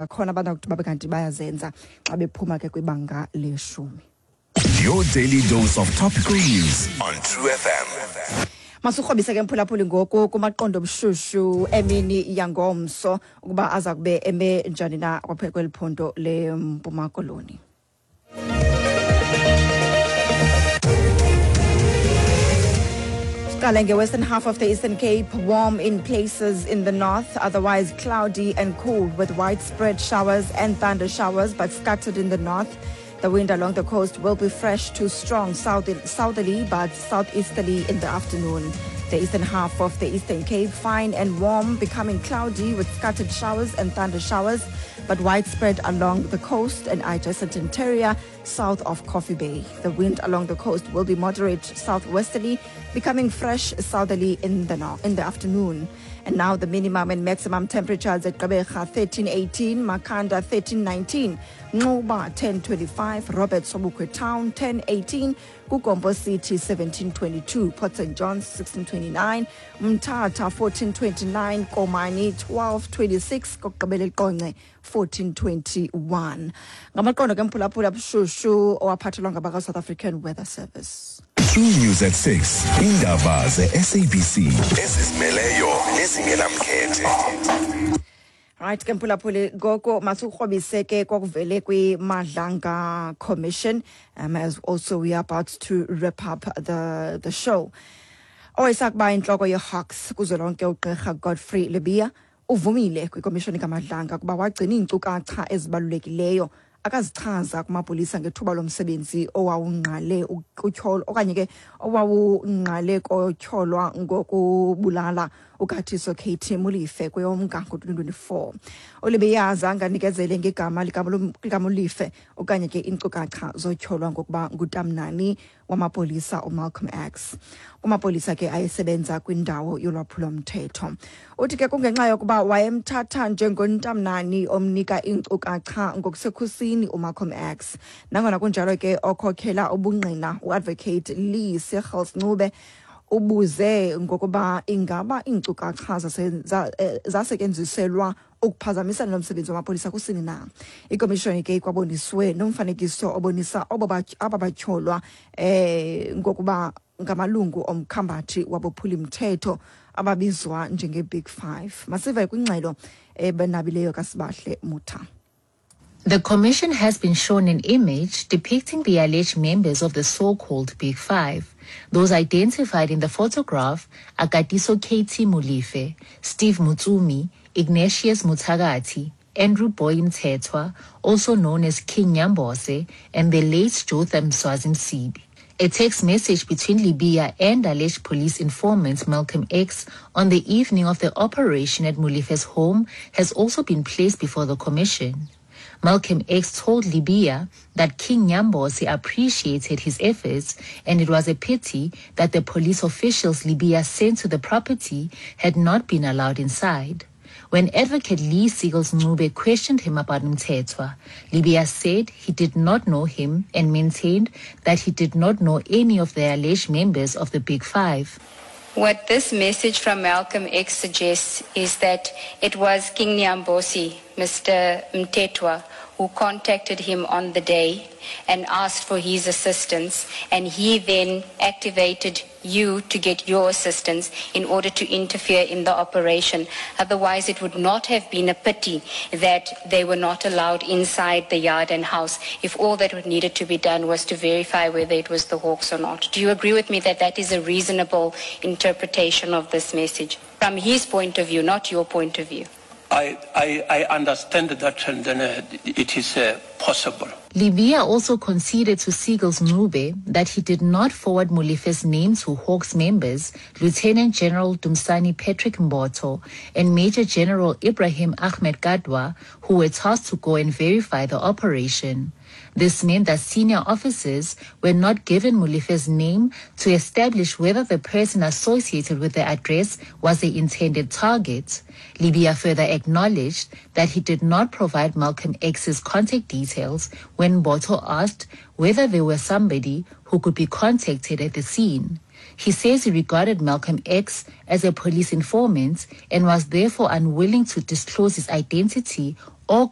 Akhona abanakuthi babe kanti bayazenza xa bephuma ke kwibanga leshumi. Your daily dose of topical news on True FM. Masikrobise ke, mphulaphuli, ngoku kumaqondo obushushu emini yangomso, ukuba aza kube eme njani na kwapha kweli phondo leMpuma Koloni. Siqale nge-western half of the Eastern Cape, warm in places in the north, otherwise cloudy and cool with widespread showers and thunder showers, but scattered in the north. The wind along the coast will be fresh to strong southerly but southeasterly in the afternoon. The eastern half of the Eastern Cape, fine and warm, becoming cloudy with scattered showers and thunder showers, but widespread along the coast and adjacent interior south of Coffee Bay. The wind along the coast will be moderate southwesterly, becoming fresh southerly in the afternoon. And now the minimum and maximum temperatures at Gqeberha 1318, Makhanda 1319, Nxuba 1025, Robert Sobukwe Town 1018, KuGompo City 1722, Port St. John's 1629, Mthatha 1429, Komani 1226, kokugqibela eQonce 1421. Ngamaqondo ke, mphulaphula, bushushu owaphathelwa ngabaka-South African Weather Service. True News at 6. Indaba ze-SABC ezizimeleyo nezingenamkhethe. Right ke, mphulaphuli, ngoko masikrobise ke kwakuvele kwi-Madlanga Commission, as also we are about to wrap up the show. Owayesakuba intloko ye-Hawks kuzwelonke, ugqirha Godfrey Lebeya, uvumile kwikomishoni kaMadlanga ukuba wagcina iinkcukacha ezibalulekileyo akazichaza kumapolisa ngethuba lomsebenzi owawungqale kutyholo okanye ke owawungqale kotyholwa ngokubulala uKatiso KT Molefe kweyoMnga ngo-2024. ULebeya zange anikezele ngegama likaMolefe okanye ke iinkcukacha zotyholwa ngokuba ngutamnani wamapolisa uMalcolm X kumapolisa ke ayesebenza kwindawo yolwaphulomthetho. Uthi ke kungenxa yokuba wayemthatha njengontamnani omnika iinkcukacha ngokusekhusini uMalcolm X. Nangona kunjalo ke, okhokhela ubungqina, uAdvocate Lee Seggles Ncube, ubuze ngokuba ingaba iinkcukacha zasetyenziselwa ukuphazamisana nomsebenzi wamapolisa kusini na. Ikomishoni ke ikwaboniswe nomfanekiso obonisa aba batyholwa ngokuba ngamalungu omkhambathi wabophulimthetho ababizwa njenge-Big Five. Masive kwingxelo ebenabileyo kaSibahle Mutha. The commission has been shown an image depicting the alleged members of the so-called Big Five. Those identified in the photograph are Katiso KT Molefe, Steve Mutsumi, Ignatius Mutagati, Andrew Boy Mthethwa, also known as King Nyambose, and the late Jotham Swazi Msibi. A text message between Lebeya and alleged police informant Malcolm X on the evening of the operation at Molefe's home has also been placed before the commission. Malcolm X told Lebeya that King Nyambose appreciated his efforts and it was a pity that the police officials Lebeya sent to the property had not been allowed inside. When Advocate Lee Seagulls Ncube questioned him about Mthethwa, Lebeya said he did not know him and maintained that he did not know any of the alleged members of the Big Five. What this message from Malcolm X suggests is that it was King Nyambosi, Mr. Mthethwa, who contacted him on the day and asked for his assistance, and he then activated you to get your assistance in order to interfere in the operation. Otherwise, it would not have been a pity that they were not allowed inside the yard and house if all that needed to be done was to verify whether it was the Hawks or not. Do you agree with me that that is a reasonable interpretation of this message? From his point of view, not your point of view. I understand that, and then it is possible. Lebeya also conceded to Seagulls Ncube that he did not forward Molefe's name to Hawks members, Lieutenant General Dumsani Patrick Mbotho and Major General Ibrahim Ahmed Kadwa, who were tasked to go and verify the operation. This meant that senior officers were not given Molefe's name to establish whether the person associated with the address was the intended target. Lebeya further acknowledged that he did not provide Malcolm X's contact details when Mbotho asked whether there was somebody who could be contacted at the scene. He says he regarded Malcolm X as a police informant and was therefore unwilling to disclose his identity. or